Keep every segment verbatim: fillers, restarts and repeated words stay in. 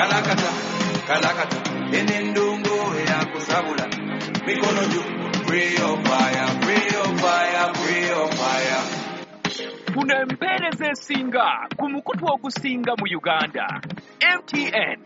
Kalakata, kalakata, enendongo ya kusabula. Mikono juu, pray your fire, pray your fire, pray your fire. Funa empeereza esinga ku mukutu ogusinga mu Uganda. M T N.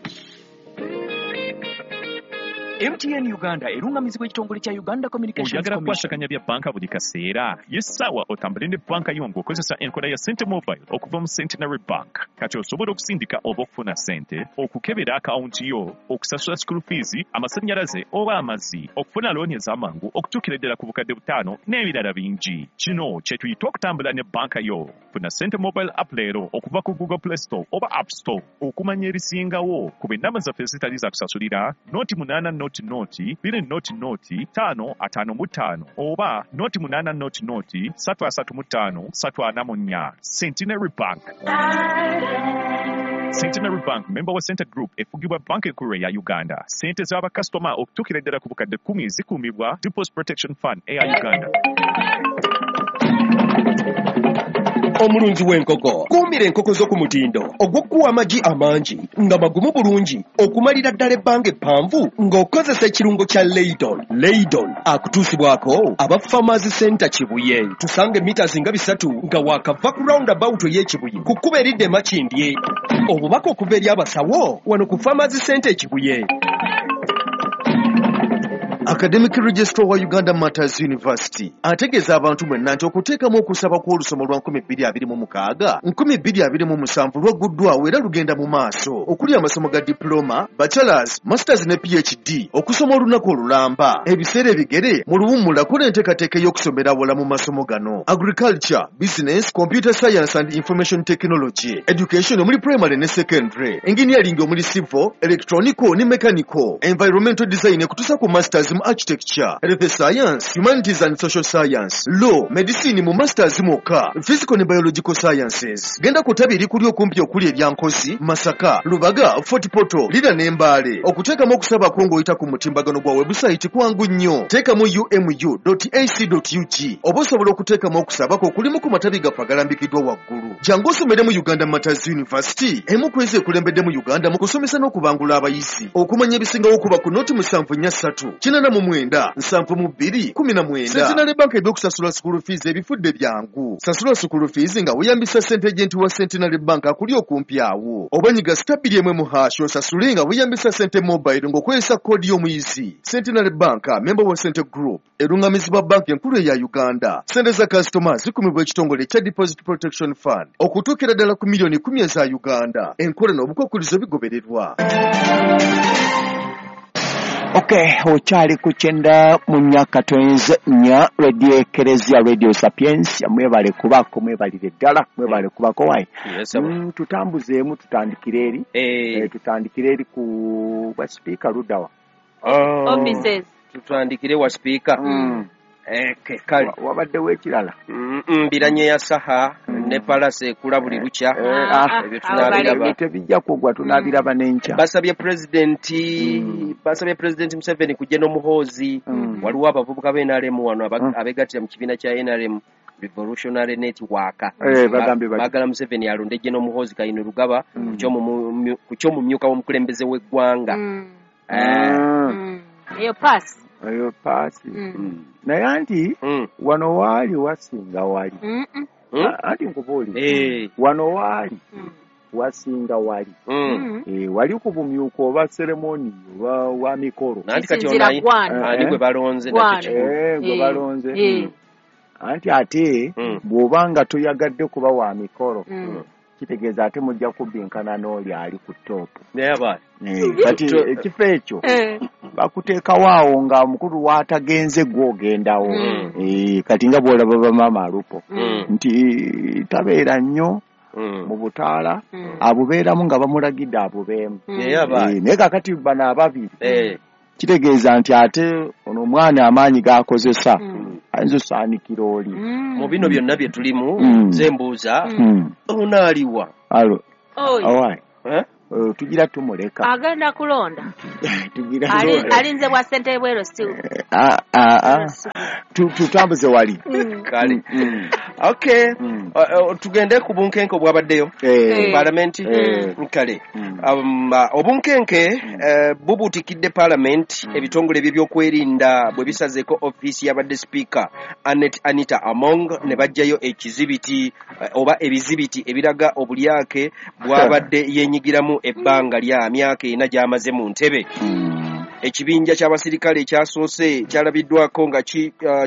M T N Uganda erungamizibwa ekitongole kya Uganda Communications Oyagala Commission. Kukwasaganya bya banka buli kaseera. Ye ssaawa otambule ne banka yo ng'okozesa enkola ya Sente Mobile okuva mu Centenary Bank. Kati osobola okusindika oba okufuna ssente, okukebera akawunti yo, okusasula school fees, amasannyalaze oba amazzi, okufuna looni ez'amangu okutuukira ddala ku bukadde butaano n'ebirala bingi. Kino kye tuyita okutambula ne banka yo. Funa Sente Mobile app leero okuva ku Google Play Store oba App Store. Okumanya ebisingawo ku ennamba zaffe ezitali za kusasulira noti munaana noti noti bbiri noti noti ttaano ataano mu ttaano oba noti munaana noti noti ssatu asatu mu ttaano ssatu ana mu nnya. Centenary Bank. Centenary Bank, member wa Center Group, efugibwa Banka Enkulu ya Uganda. Ssente z'abakasitoma okutuukira ddala ku bukadde kkumi zikuumibwa Deposit Protection Fund eya Uganda. Omulunzi w'enkoko, kuumira enkoko zo ku mutindo ogw'okuwa amagi amangi nga magumu bulungi okumalira ddala ebbanga eppanvu ng'okozesa ekirungo kya Leydon. Leydon akutuusibwako aba Farmers Center Kibuye. Tusanga emita nga bisatu nga waakava ku roundabout ey'Ekibuye ku kkubo eridda e Makindye. Obubaka okuva eri abasawo wano ku Farmers Center Ekibuye. Academic Registrar wa Uganda Martyrs University ategeeza abantu mwenna nti okuteekamu okusaba kw'olusoma lwa nkumi bbiri abiri mu mukaaga nkumi bbiri abiri mu musanvu lwagguddwawo era lugenda mu maaso, okuli amasomo ga diploma, bachelors, masters ne P H D, okusoma olunaku olulamba, ebiseera ebigere mu luwummula. Kola enteekateeka ey'okusomera awala mu masomo gano: agriculture, business, computer science and information technology, education omuli primary ne secondary, engineering omuli civil, electronical ne mechanical, environmental design ekutuusa ku masters mu architecture, health science, humanities and social science, law, medicine mu masters mwokka, physical ne biological sciences. Genda ku ttabi erikuli okumpi okuli erya Nkozi, Masaka, Lubaga, Fort Portal, Lira ne Mbale. Okuteekamu okusabako ng'oyita ku mutimbagano gwa webusayiti kwangu nnyo. Teekamu umu dot ac dot ug oba osobola okuteekamu okusabako okulimu ku matabi gaffe agalambikiddwa waggulu. Jangu osomere mu Uganda Martyrs University, emu ku ezo ekulembedde mu Uganda mu kusomesa n'okubangula abayizi. Okumanya ebisingawo kuba ku noti musanvu nnya ssatu kinaana mu mwenda nsanvu mu bbiri kumi na mwenda. Centenary Bank ebyokusasula school fees ebifudde byangu. Sasula school fees nga weeyambisa sente agent wa Centenary Bank akuli okumpi awo, oba nyiga star bbiri emu mu hash osasule nga weeyambisa Sente Mobile ng'okozesa koodi y'omuyizi. Centenary Bank, member wa Sente Group, erungamizibwa Banka Enkulu eya Uganda. Sente za kasitoma zikumibwa ekitongole ekya Deposit Protection Fund okutuukira ddala ku miliyoni kumi eza Uganda. Enkola n'obukwakkulizo bigobererwa. Okay, okyali ku kyenda mu myaka twenze nnya, Radio Ekereziya, Radio Sapiens. Mwebale kubako, mwebalire ddala, mwebale kubako wayi. Yes, sir. Mm, tutambuzeemu, tutandikire eri. Eh, Eh, tutandikire eri ku bwa sipiika luddawa? Oh, Offices. Tutandikire wa sipiika. Mm. Eh, ke- kale. Wa- wabaddewo ekirala? Mm, mm, mbiranye ya saha ne palase ekula buli lukya. Eh, Ah, ah, ebyo ah, tunaabiraba. Ebyo tebijja kugwa, tunaabiraba n'enkya. Basabye pulezidenti, Mm. basabye Pulezidenti Museveni kujja n'Omuhoozi. Mm. Waliwo abavubuka ba N R M wano aba- Mm. abegattira mu kibiina kya N R M Revolutionary Network. Eh, bagambye bati baagala Museveni alonde Gen Muhoozi Kainerugaba Mm. ku ky'omumu- ku ky'omumyuka w'omukulembeze w'eggwanga. Mm. Eh, Mm. Mm. Eyo paasi. Eyo paasi. Mm. Naye anti mm, wano waali wasinga wali. Mm-mm. mm. A- anti nkubuulire, Eh, wano waali Mm. wasinga wali. mm. Mm. Eh, wali ku bumyuka oba seremoni oba wa mikolo. Nanti kati Kisinziira ono ayi- gwani. ani Eh, gwe balonze nakyo Gwani. kikulu. Eh, gwe Eh. balonze. Eh. Anti ate Mm. bw'oba nga toyagadde kuba wa mikolo, Mm. kitegeeza ate mujja kubbinkana n'oli ali ku top. Naye abaana Eh, kati To- ekifo ekyo Eh. bakuteekawo awo nga omukulu w'atagenze gw'ogendawo. Mm. Eh, kati nga bw'olaba bamaama Alupo Mm. nti tabeera nnyo Mm. mu butaala, Mm. abubeeramu nga bamulagidde abubeemu. Mm. Naye abaana Eh, naye kakati bano ababiri Eh, kitegeeza nti ate ono omwana amaanyi g'akozesa Mm. ayinza osaanikira oli. Mm. Mu bino byonna bye tulimu, Mm. nze mbuuza, Mm. ono aliwa? Alo, Oyo. awayi. Eh? Eh, tugira tumuleka. Agenda kulonda. Tugira Ali- alinze bwa ssentebe bwero si Ah, ah, ah. Tu- tutambuze wali. Mm. Kale. Mm. Okay. Mm. Tugende ku bunkenke obwabaddeyo palamenti kale obunkenke bubuutikidde palamenti ebitongole by'ebyokwerinda bwe bisazeeko ofiisi y'abadde sipiika Annet Anita Among ne baggyayo ekizibiti oba ebizibiti ebiraga obulyake bw'abadde yeenyigiramu ebbanga lya myaka ena gy'amaze mu ntebe. Ekibinja ky'abasirikale ekyasoose kyalabiddwako nga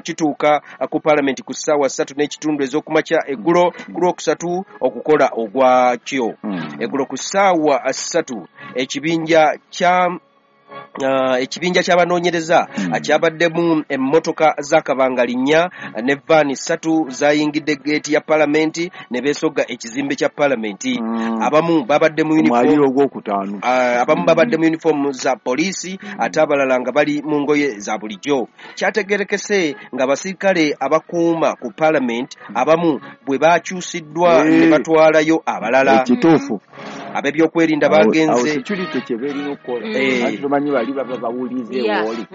kituuka ku palamenti ku ssaawa ssatu n'ekitundu ez'okumakya eggulo ku lwokusatu okukola ogwakyo. Eggulo ku ssaawa ssatu ekibinja kya ekibinja ky'abanoonyereza kyabaddemu emmotoka za kabangali nnya ne vaani ssatu zayingidde geeti ya palamenti ne beesogga ekizimbe kya palamenti. Abamu babadde mu uniform abamu babadde mu uniform za poliisi ate abalala nga bali mu ngoye za bulijjo. Kyategerekese ng'abasirikale abakuuma ku palamenti abamu bwe bakyusiddwa ne batwalayo abalala. Ekituufu ab'ebyokwerinda bagenze security kye beerina okukola anti bali baba bawulize wooli.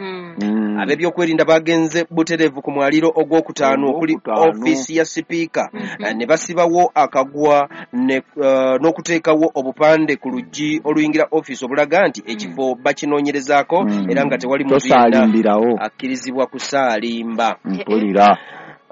Ab'ebyokwerinda bagenze butereevu ku mwaliro ogwokutaano okuli ofiisi ya sipiika ne basibawo akagwa n'okuteekawo obupande ku luggi oluyingira ofiisi obulaga nti ekifo bakinoonyerezaako era nga tewali muntu yenna akkirizibwa kusaalimba. Mpulira.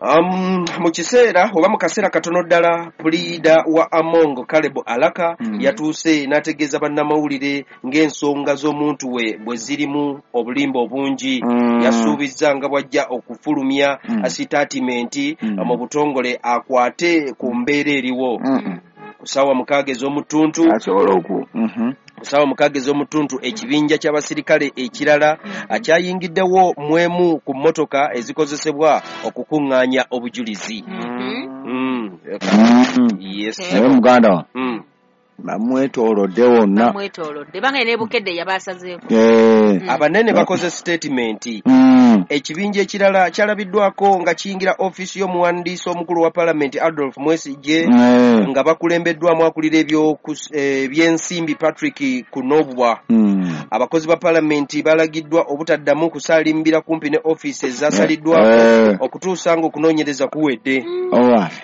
Um, mu kiseera oba mu kaseera katono ddala puliida wa Among Caleb Alaka mm. yatuuse n'ategeeza bannamawulire ng'ensonga z'omuntu we bwe zirimu obulimba obungi. mm. Yasuubizza nga bw'ajja okufulumya mm. sitaatimenti mm. mu butongole akwate ku mbeera eriwo. mm. Ku ssaawa mukaaga ez'omutuntu asobola oku ku ssaawa mukaaga ez'omutuntu ekibinja ky'abasirikale ekirala akyayingiddewo mwemu ku mmotoka ezikozesebwa okukuŋŋaanya obujulizi. Naye muganda wa bamwetoolodde wonna, bamwetoolodde banga ne Bukedde yabasazeeko. Abanene bakoze statement. Ekibinja ekirala kyalabiddwako nga kiyingira ofiisi y'omuwandiisi omukulu wa palamenti Adolf Mwesigye nga bakulembeddwamu akulira ebyensimbi Patrick Kunobwa. Abakozi ba palamenti balagiddwa obutaddamu kusaalimbira kumpi ne ofiisi ezasaliddwako okutuusa ng'okunoonyereza kuwedde.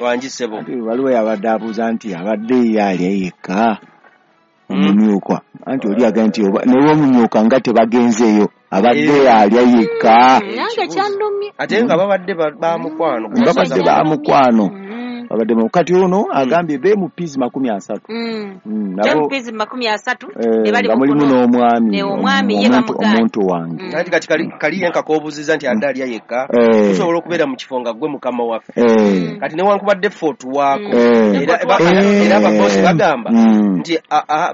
Wangisebo waliwo yabadde abuuza nti abadde ye ali yekka omumyuka, anti oli agamba nti naye omumyuka nga tebagenzeeyo abadde alya yekka. Nange kyandumye ate nga babadde bamukwano, babadde bamukwano babadde mu kati ono agambye be mu pizi makumi asatu nabo pizi makumi asatu ne bali mulimu n'omwami omwami ye bamuganda omuntu wange. Anti kati kali kali yenka kobuziza nti adde alya yekka osobola okubeera mu kifo nga gwe mukama waffe kati newankubadde ffe otuwaako era era abakozi bagamba nti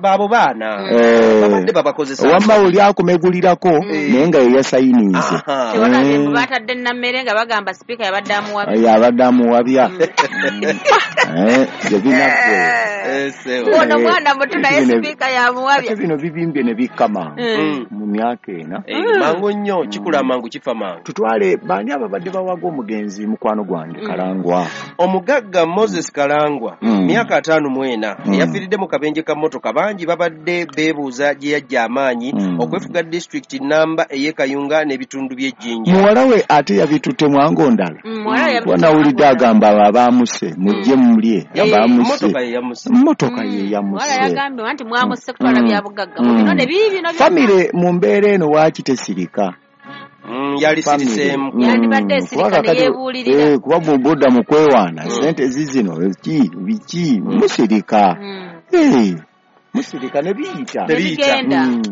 baabo baana babadde babakozesa wamma oli akumegulirako naye nga ye yasayininze. Tewalabye mbu batadde nammere nga bagamba sipiika yabadde amuwabya yabadde amuwabya. Ono mwana muto naye sipiika yamuwabya. Ate bino bibimbye ne bikka mangu mu myaka ena. Mangu nnyo, kikula mangu kifa mangu. Tutwale baani ababadde bawaga omugenzi mukwano gwange Kalangwa. Omugagga Moses Kalangwa myaka ataano mu ena eyafiiridde mu kabenje ka mmotoka bangi babadde beebuuza gye yajja amaanyi okwefuga disitulikiti namba ey'e Kayunga n'ebitundu by'Ejjinja. Muwala we ate yabitutte mwango ndala. Wanawulidde agamba abaamuse mujje mulye abamuse mmotoka ye yamuse. Wala yagambye nti mwamuse kutwala bya bugagga bino ne bibi bino. Famire mu mbeera eno waaki tesirika. Yali siriseemu yandibadde esirika ne yeebuulirira. Kuba bw'obudda mu kwewaana ssente zizino ki biki musirika. Musirika ne biyita.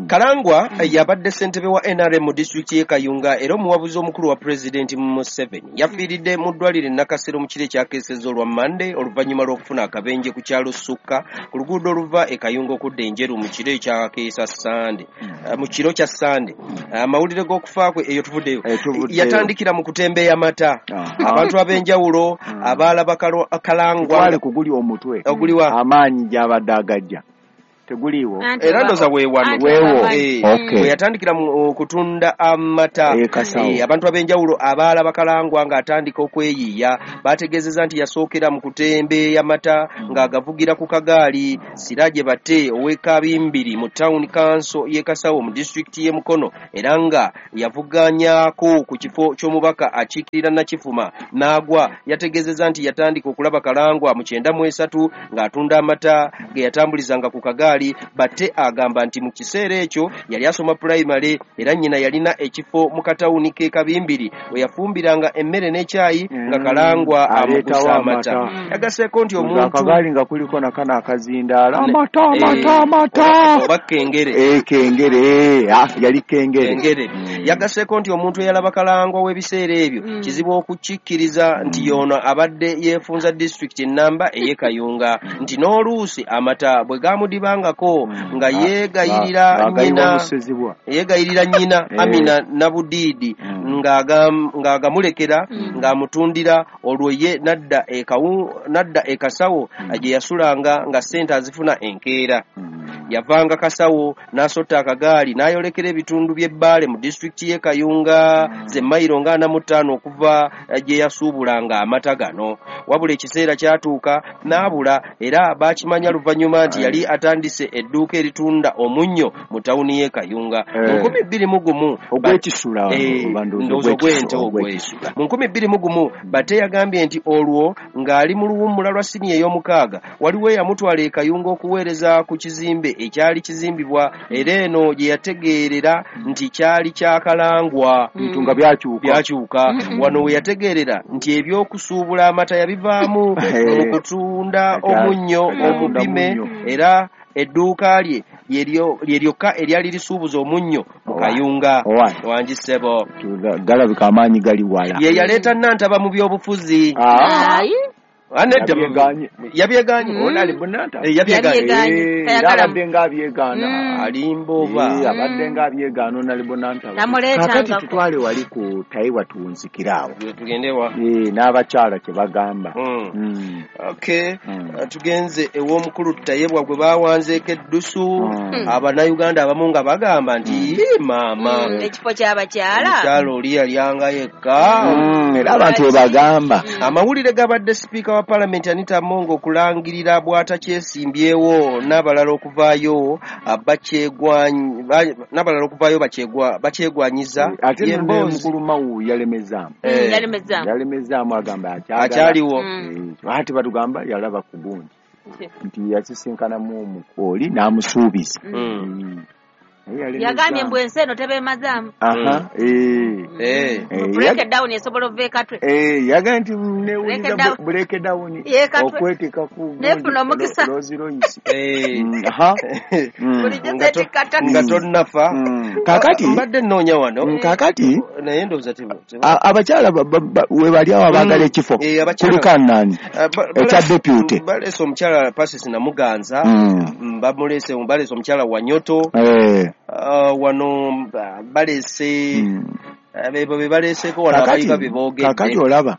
Kalangwa yabadde ssentebe wa N R M mu disitulikiti y'e Kayunga era omuwabuzi omukulu wa Pulezidenti Museveni. Yafiiridde mu ddwaliro e Nakasero mu kiro ekyakeesezza olwa Mmande oluvannyuma lw'okufuna akabenje ku kyalo Sukka ku luguudo oluva e Kayunga okudda e Njeru mu kiro ekyakeesa Ssande mu kiro kya Ssande. Amawulire g'okufa kwe eyo tuvuddeyo yatandikira mu kutembeeya mata. Abantu ab'enjawulo abaalaba Kalangwa twale kuguli omutwe oguliwa amaanyi gy'abadde agajja. Teguliiwo. Era ndoza weewano. Weewo. Eh, we yatandikira mu kutunda amata. Eh, abantu ab'enjawulo abaalaba Kalangwa ng'atandika okweyiiya bategeezezza nti yasookera mu kutembeeya mata ng'agavugira ku kagaali. Siraje Bate ow'e Kabimbiri mu town council y'e Kasawo mu disitulikiti y'e Mukono, era nga yavuganyaako ku kifo ky'omubaka akiikirira Nakifuma n'agwa, yategeezezza nti yatandika okulaba Kalangwa mu kyenda mu esatu ng'atunda amata ge yatambulizanga ku kagaali. Bate agamba nti mu kiseera ekyo yali asoma pulayimale era nnyina yalina ekifo mu katawuni k'e Kabimbiri we yafumbiranga emmere n'ekyayi nga Kalangwa amugusa amata. Yagaseeko nti omuntu akagaali nga kuliko nakano akazindaala amata amata amata oba kengere. Eh, kengere, ah, yali kengere. Kengere. Yagaseeko nti omuntu eyalaba Kalangwa w'ebiseera ebyo kizibu okukikkiriza nti yono abadde yeefunza disitulikiti ennamba ey'e Kayunga, nti n'oluusi amata bwe gamudibangako nga yeegayirira nnyina yeegayirira nnyina Amina Nabudiidi ng'agamulekera ng'amutundira, olwo ye n'adda n'adda e Kasawo gye yasulanga nga ssente azifuna enkeera. Yavanga Kasawo n'asotta akagaali n'ayolekera ebitundu by'e Bbaale mu disitulikiti y'e Kayunga ze mayiro nga ana mu ttaano okuva gye yasuubulanga amata gano. Wabula ekiseera kyatuuka n'abula, era baakimanya luvannyuma nti yali atandise edduuka eritunda omunnyo mu tawuni y'e Kayunga. Mu nkumi bbiri mu gumu ogw'ekisula ndowooza ogw'ente ogw'ekisula. Mu nkumi bbiri mu gumu Bate yagambye nti olwo ng'ali mu luwummula lwa siniya ey'omukaaga waliwo eyamutwala e Kayunga okuweereza ku kizimbe ekyali kizimbibwa, era eno gye yategeerera nti kyali kya Kalangwa. Bintu nga byakyuka byakyuka. Wano we yategeerera nti ebyokusuubula amata yabivaamu mu kutunda omunnyo omupime, era edduuka lye lye lyokka eryali lisuubuza omunnyo mu Kayunga. Wangi ssebo, galabika amaanyi gali wala. Ye yaleeta Nantaba mu byobufuzi. Yabyegaanye. Yabyegaanye. Yabyegaanye. Abadde nga abyegaana. Alimba oba. Abadde nga abyegaana Onalebo Nantaba. Kakati tutwale wali ku Taiwa tuwunzikire awo. Tugende wa? N'abakyala kye bagamba. Okay. Tugenze ew'omukulu Tayebwa gwe bawanzeeko eddusu. Abannayuganda abamu nga bagamba nti maama. Ekifo ky'abakyala. Omukyala oli yalyanga yekka. Era abantu bwe bagamba. Amawulire gabadde sipiika wa Parliament Anita Among okulangirira bw'atakyesimbyewo n'abalala okuvaayo n'abalala okuvaayo bakyegwanyiza. Ate mukulu Mawu yalemezaamu. Yalemezaamu. Yalemezaamu agamba akyaliwo. Ate batugamba yalaba ku gundi nti yasisinkanamu omukooli n'amusuubiza. Yagambye mbu ensi eno tebeemazaamu. Aha, eh. Break down esobola ova ekatwe. Eh, yagambye nti newulira break down okweteeka ku nefuna omukisa. Rolls Royce. Eh. Aha. Bulijjo seetikka nga tonnafa. Kaakati mbadde nnoonya wano. Kaakati naye ndowooza abakyala we bali awo abaagala ekifo kuliko nani ekya deputy. Baleese omukyala Pasis Namuganza, bamuleese baleese omukyala Wanyoto. Eh. Uh, wano baleese bebo be baleeseeko wano abayiga be boogedde. Kaakati olaba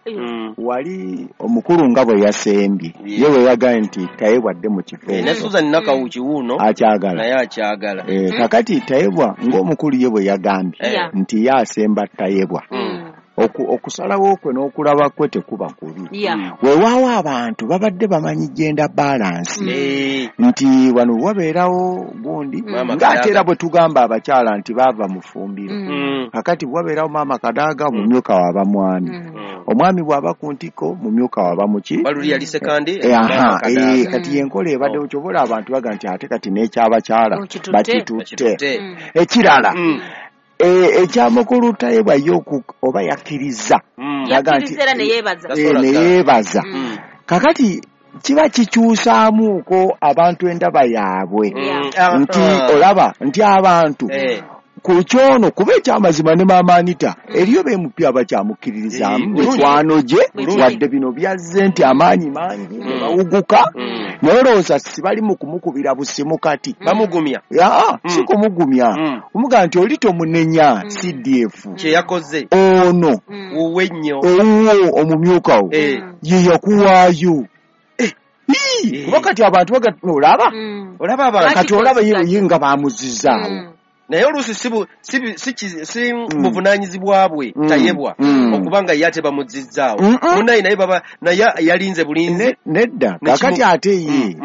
wali omukulu nga bwe yasembye ye bwe yagambye nti Tayebwa adde mu kifo ne Susan Nakawuki wuuno akyagala naye akyagala. Kaakati Tayebwa ng'omukulu ye bwe yagambye nti ye asemba Tayebwa, okusalawo kwe n'okulaba kwe tekuba kubi. Weewaawo abantu babadde bamanyi gender balance nti wano wabeerawo gundi ng'ate era bwe tugamba abakyala nti baava mu ffumbiro. Kakati wabeerawo maama Kadaaga mumyuka waba mwami, omwami bw'aba ku ntikko mumyuka waba muki. Baluli yali Sekandi. Kati y'enkola ebaddewo kyobola abantu baga nti ate kati n'ekyabakyala bakitutte. Ekirala ekyamukulu Tayebwa ye oba yakkiriza yakkiriza ne yeebaza ne yeebaza. Kakati kiba kikyusaamuuko abantu endaba yaabwe nti olaba nti abantu ku kyono kuba ekyamazima ne maama Anita eriyo bemupya abakyamukkiririzaamu mikwano gye wadde bino byazze nti amaanyi mangi ne bawuguka naye olowooza sibali mu kumukubira busimu kati bamugumya. Aa si kumugumya omugamba nti oli tomunenya C D F kye yakoze ono wuwe nnyo owuwo omumyuka wo ye yakuwaayo. Kuba kati abantu olaba Olaba abantu kati olaba ye nga bamuzizaawo. Naye oluusi si buvunaanyizibwa bwe Tayebwa okubanga ye ate bamuzizzaawo. Munnaye naye baba naye yalinze bulinzi. Nedda kakati ate ye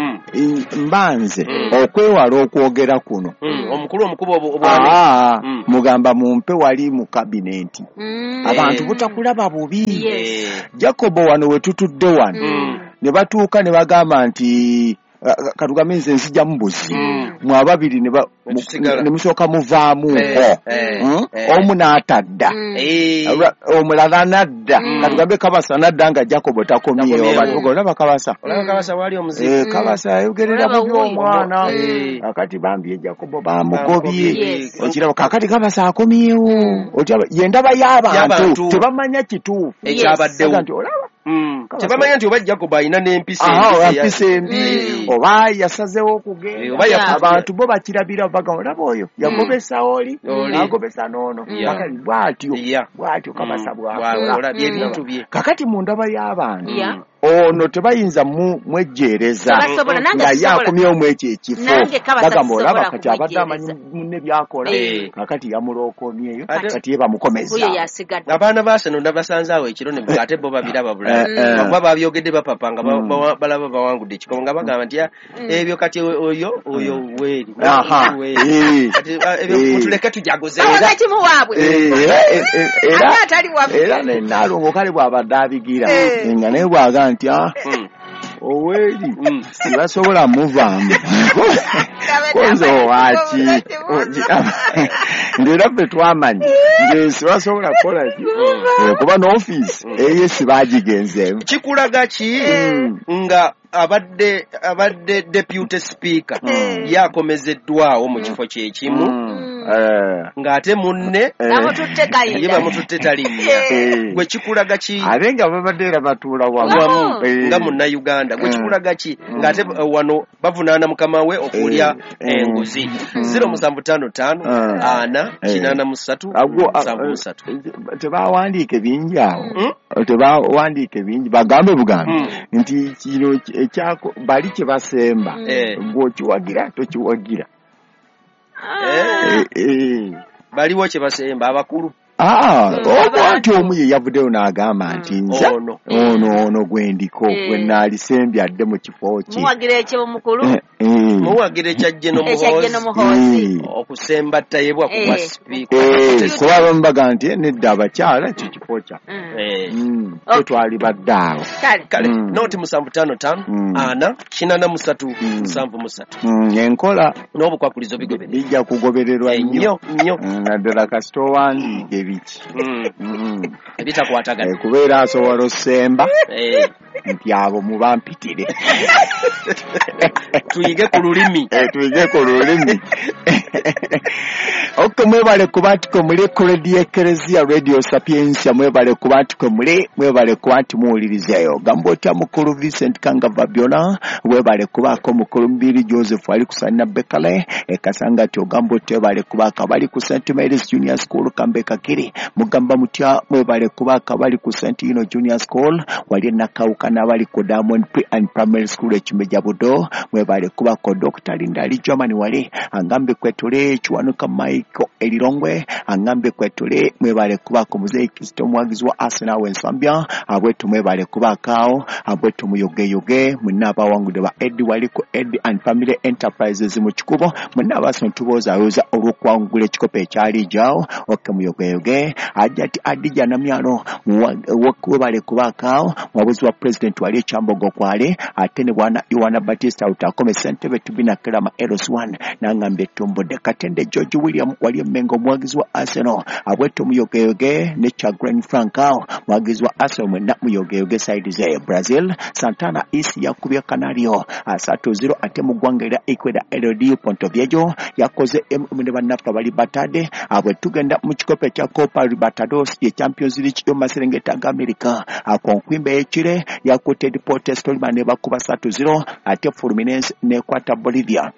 mbanze okwewala okwogera kuno. Omukulu omukuba obwami. Mugamba mumpe wali mu kabinenti. Abantu butakulaba bubi. Jacobo wano we tutudde wano ne batuuka ne bagamba nti katugambe nze nzija mbuzi mwe ababiri ne musooka muvaamuko omu n'atadda omulala n'adda katugambe Kabasa n'adda nga Jacobo takomyewo olaba Kabasa Kabasa ayogerera bubi omwana kakati bambi Jacobo bamugobye okiraba kakati Kabasa akomyewo ye ndaba y'abantu tebamanya kituufu ekyabaddewo nti olaba tebamanya nti oba Jacobo alina n'empisa embi oba yasazeewo okugenda abantu bo bakirabira bagamba olaba oyo yagobesa oli n'agobesa n'ono kakati bw'atyo bw'atyo Kabasa bw'akola kakati mu ndaba y'abantu ono tebayinza mwejjeereza nga ye akomyewo mu ekyo ekifo bagamba olaba kati abadde amanyi munne by'akola kakati yamulookomyeyo kati ye bamukomeza. Abaana ba Arsenal nabasanze awo ekiro ne ate bo babiraba bulala kuba babyogedde bapapa nga balaba bawangudde ekikomo nga bagamba nti ebyo kati oyo oyo weeri kati ebyo mutuleke tujaguze era ne Nalongo kale bw'abadde abigira nga naye bw'aga nti Oweri sibasobola muvaamu konzo waaki ndera ffe twamanyi nti sibasobola kukola ki kuba n'ofiisi eyo sibagigenzeemu. Kikulaga ki nga abadde abadde deputy speaker yakomezeddwawo mu kifo kyekimu ng'ate munne ye bamututte talinnya gwe kikulaga ki ate nga babadde era batuula wamu nga munnayuganda gwe kikulaga ki ng'ate wano bavunaana mukama we okulya enguzi zero musanvu ttaano ttaano ana kinaana mu ssatu musanvu mu ssatu. Tebawandiike bingi awo tebawandiike bingi bagambe bugambe nti kino ekyako bali kye basemba gw'okiwagira tokiwagira. Baliwo kye basemba abakulu. Oba nti omu ye yavuddeyo n'agamba nti nze ono ono gwendiko gwe naalisembye adde mu kifo kye. Muwagira eky'omukulu muwagira ekya General Muhoozi okusemba Tayebwa ku bwa sipiika kuba abamu bagamba nti nedda abakyala ekyo kifo kyaffe tetwali badde awo. Kale noti musanvu ttaano ttaano ana kinaana mu ssatu musanvu mu ssatu enkola n'obukwakulizo bigobererwa bijja kugobererwa nnyo nnyo naddala kasita owandiika ebiki ebitakwatagana kubeera asobola ossemba nti abo mubampitire tuyige ku lulimi tuyige ku lulimi. Ok, mwebale kuba nti kwe muli ku Radio Ekereziya Radio Sapientia, mwebale kuba nti kwe muli, mwebale kuba nti muwulirizeeyo. Gamba otya mukulu Vincent Kangava byona, webale kubaako mukulu Mbiri Joseph ali ku Sanna Bekale, ekasanga ti ogamba otya webale kubaako abali ku Saint Mary's Junior School Kambe Kakiri, mugamba mutya mwebale kubaako abali ku Saint Ino Junior School, wali Nakawuka n'abali ku Diamond Pre and Primary School Ekimeja Budo, mwebale kubaako Doctor Linda ali Germany wali, angambe kwetule Kiwanuka Mike Elirongwe, angambe kwetule mwebale kubaako Muzeeyi Kristo omuwagizi wa Arsenal w'Ensambya, abwetu mwebale kubaako awo, abwetu muyogeyoge, mwenna abawangudde ba Eddie wali ku Eddie and Family Enterprises mu Kikubo, mwenna Abaarsenal tuboozaayoza olw'okuwangula ekikopo ekyali gyawo, okke muyogeyoge, Ajati Adija Namyalo webale kubaako awo, muwabuzi wa President wali Ekyambogo kwale, ate ne bwana Yohana Batista Utakome ssentebe Tubina Kirama Eros one, nangambye Tumbudde Katende George William wali Mengo muwagizi wa Arsenal, abwetu muyogeyoge ne Chagrin Frank awo muwagizi wa Arsenal mwenna muyogeyoge side ze Brazil Santana East yakubye Canario asatu zero ate mu ggwanga erya Ecuador L D Pontoviejo yakoze M ne bannaffe abali batadde abwe tugenda mu kikopo ekya Copa Libertadores ye Champions League y'omu maserengeta ga America akonkwimba ekire yakutte Deportes Tolima ne bakuba satu zero ate Fluminense nekwata Bolivia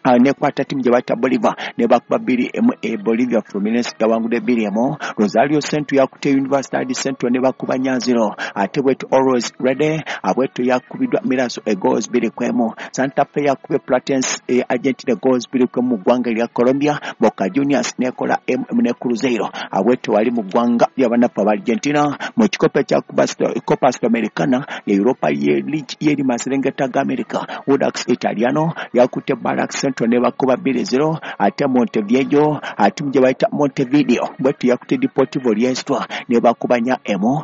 Nekwata timu gye bayita Bolivar ne bakuba bbiri emu. E Bolivia Fluminense yawangudde bbiri emu. Rosario Central yakutte Universidad Central ne bakuba nyanziro. Ate bwetu Always Ready abwetu yakubiddwa Miraso e goals bbiri ku emu. Santa Fe yakubye Platense e Argentina goals bbiri ku emu mu ggwanga erya Colombia. Boca Juniors nekola emu ne Cruzeiro abwetu wali mu ggwanga ly'abannaffe aba Argentina. Mu kikopo ekya Copa Sudamericana ye Europa ye League yeri maserengeta ga America, Audax Italiano yakutte Barrack Central ne bakuba bbiri zero. Ate Montevideo ate gye bayita Montevideo bwetu yakutte Deportivo Riestra ne bakuba nya emu.